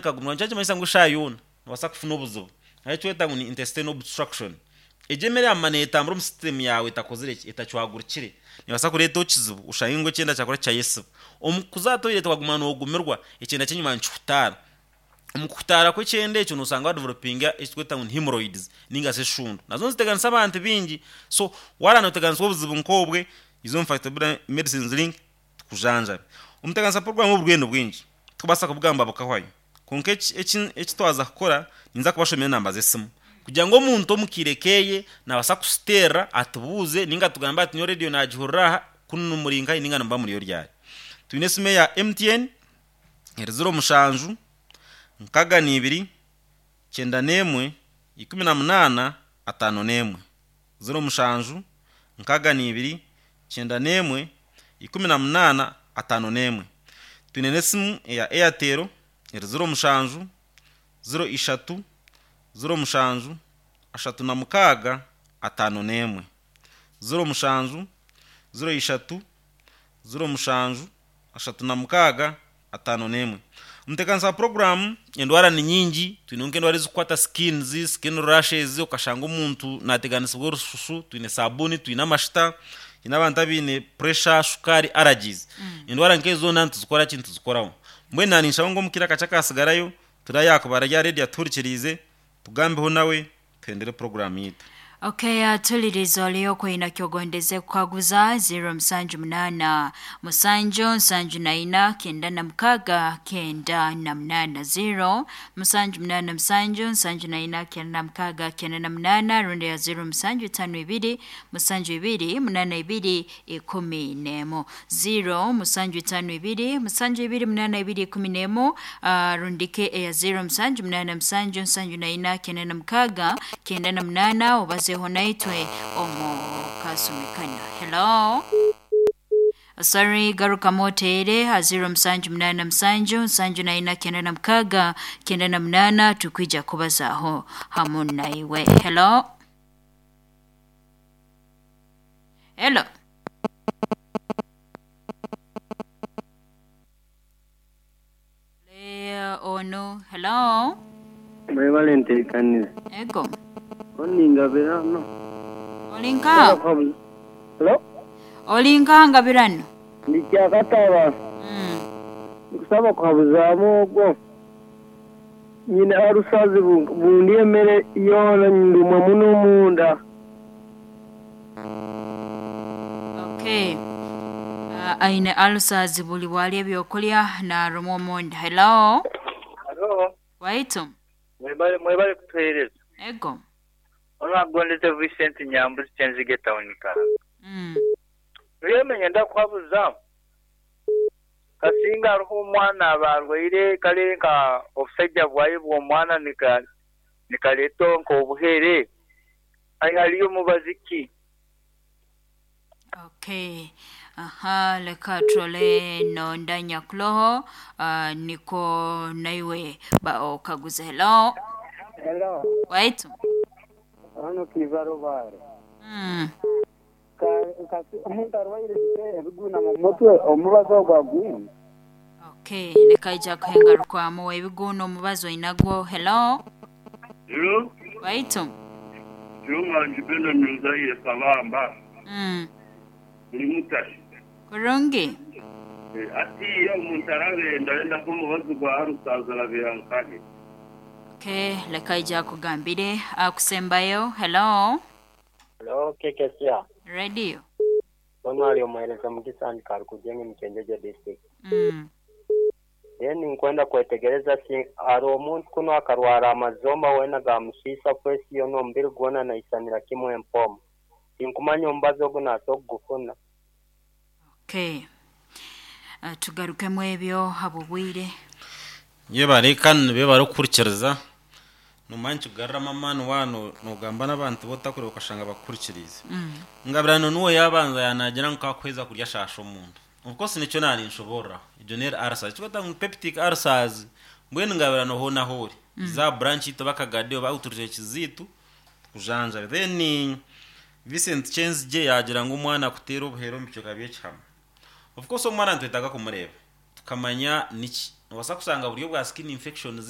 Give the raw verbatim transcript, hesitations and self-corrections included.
Nikagumirwa nikyo kimanyisa ngu eshaaha yoona nobaasa kufuna obuzibu. Hariho ekikweta ngu ni intestinal obstruction. Egyo emere yamara neetambura omu system yaawe etakozire ki, etacwagurukire, neebaasa kureetaho ekizibu oshange ngu ekyenda kyakora kyayesiba. Omu kuza aha toilet waguma noogumirwa, ekyenda ky'enyima nikihutaara. Omu kuhutaara kw'ekyenda ekyo noosanga wadevelopinga ekitweta ngu ni hemorrhoids ninga shi eshundu. Nazo niziteganisa abantu baingi. So waaba nooteganisibwa obuzibu nk'obwe, iza omu Phyto Medicines Link tukujanjabe. Omuteganisa program oburwaire ni bwingi, tikubaasa kubugamba bukahwayo. Kwonka eki eki eki twaza kukora, ninza kubashomera enamba z'esimu kugira ngu omuntu omu kaire keeye naabaasa kusiteerera atubuuze ninga atugambe ati nyowe reediyo naagihurira aha kunu muri nkahi ninga nimuba muriyo ryari. Twine esimu eya M T N eri ziro mushanju nkaga n'ibiri kyenda n'emwe ikumi na munaana ataano n'emwe, ziro mushanju nkaga n'ibiri kyenda n'emwe ikumi na munaana ataano n'emwe. Twine n'esimu eya Airtel eri ziro mushanju ziro ishatu ziro mushanju ashatu na mukaaga ataano n'emwe, ziro mushanju ziro ishatu ziro mushanju ashatu na mukaaga ataano n'emwe. Omuteekanisa wa puroguraamu, endwara ni nyingi. Twine nk'endwara ezikukwata skins, skin rashes, okashanga omuntu naateganisibwa orususu. Twine sabuuni, twine amashita, twine abantu abaine pressure, shukaari, allergies, endwara nk'ezo zoona nituzikora ki, nituzikoraho. Mbwenu naninshaba ngu omu kaire akakye akasigarayo turayakuba rya reediyo atuhurikiriize, tugambeho nawe, tuhendere puroguraamu yitu. Okay, atuliriza oliyo kwina kyogondeze kukaguza, ziro musanju munana musanju nsanju naina kenda na mukaga kenda na munana, ziro musanju munana musanju nsanju naina kenda na mukaga kenda na munana, rundi ya ziro musanju itano ibiri musanju ibiri munana ibiri ikumi nemu, ziro musanju itano ibiri musanju ibiri munana ibiri ikumi nemu, uh, rundike eya ziro musanju munana musanju nsanju naina kenda na mukaga kenda na munana, obazeho naitwe omu kasumi kano. Hello, sorry, garukamu oteere ha ziro musanju munana musanju nsanju naina kenda na mukaga kenda na munana, tukwija kubazaho hamu naiwe. Hello, hello. Le ono, hello. Mwebale nteekanize. Ego. Oningabirano. Olinka? Hello? Olinka ngabirano? Ndikyakataba. mm. Nkusaba kuhabuzaamu ogwo. Nyine arusazi bundi emere yoona ndumwa muno omunda. Okay, uh, aine ulcers, buli bwali ebyokulya narumwa omunda. Hello. Halo, Waitu. mwebale mwebale kutuheereza. Ego. Onagondeze Vincent Nyambuzi Kyenzige town ka. mm. Rwemenya ndakuhabuza. Kasinga hariho omwana abarwaire kale nka obusajja bwaye bw'omwana nika nikaleeta nk'obuhere. Ai hariyo omubazi ki? Okay, aha, leka turole nonda nyakuloho, uh, niko naiwe ba okaguze. Hello. Hello. Waitu. Hano kiva Rubare. mm. Omuntu arwaire ebiguna mu mutwe, omubazi ogwo agwine. Okay, leka ija kuhengarukwamu ebiguuna omubazi oinagwo. Hello. Hello, Waitu. Kirunganji Beno Nzaire Kabamba, mm. ndi mutashi. Kurungi. Eh, Ati omuntu arabenda yenda kumubazi gwa rusaza arabera nkahe. Okay, leka ija kugambire akusembayo. Hello. Hello, K K C R. Radio. Ono ali omuhereza Mugisa Andikari kujenge Mchenjeje district. mm. Then nkwenda kwetegereza si ari omuntu kuno akarwara amazomba wena gamusiisa kwesi yona omubiri gwona naisanira kimwe empomo. Tinkumanya omubazi ogu naso kugufuna. Okay, uh, tugarukemu ebyo habubwire. Yebare kandi nibe barikuhurikiriza nomanya nikikugaruramu amaani waaba noogamba n'abantu botakureba okashanga bakuhurikiriize. mm. Ngabirano niwe yabanza yanagira ngu kakuheza kurya shaasha omunda. Of course nikyo naninshobororaho egyo neri ulcers, ekikweta ngu peptic ulcers. Mbwenu ngabirano hoona hoori za branch yitu bakagade oba outreach ziitu tukujanjabe. Then Vincent Chenzigye yagira ngu omwana akuteera obuheera omu bicweka by'ekihama. Of course omwana nitwetaaga kumureeba tukamanya niki nobaasa kusanga buryo bwa skin infections.